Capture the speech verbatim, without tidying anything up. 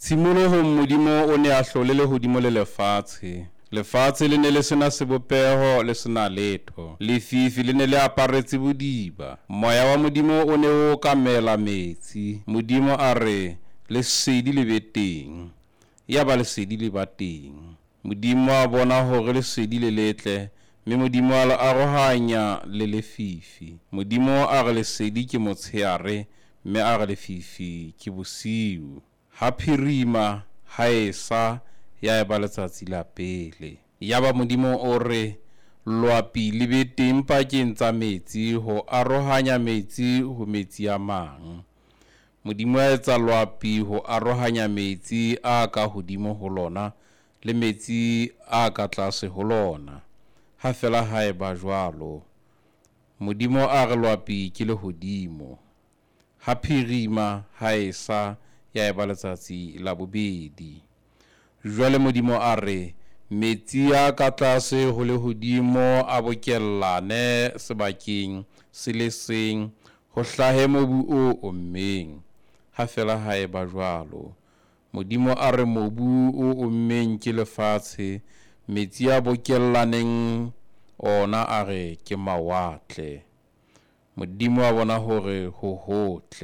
Tshimolohong Modimo o ne a hlole lehodimo le lefatshe. Lefatshe le ne le sena sebopeho le sena letho. Lefifi le ne le aparetse bodiba. Moya wa Modimo o ne o okamela metsi. Modimo a re, lesedi le be teng. Yaba lesedi le ba teng. Modimo a bona hore lesedi le letle, mme Modimo a le arohanya le lefifi. Modimo a re lesedi ke motsheare, mme a re lefifi ke bosiu. Ha phirima, ha esa, ya eba letsatsi la pele. Yaba Modimo o re, Loapi le be teng pakeng tsa metsi ho arohanya metsi ho metsi a mang. Modimo a etsa loapi ho arohanya metsi a ka hodimo ho lona le metsi a ka tlase ho lona. Ha fela ha eba jwalo. Modimo a re loapi ke lehodimo. Ha phirima, ha esa, ya eba letsatsi la bobedi. Jwale Modimo a re, metsi a ka tlase ho lehodimo a bokellane sebakeng se le seng, ho hlahe mobu o ommeng. Ha fela ha eba jwalo. Modimo a re mobu o ommeng ke lefatshe, metsi a bokellaneng ona a re ke mawatle. Modimo a bona hore ho hotle.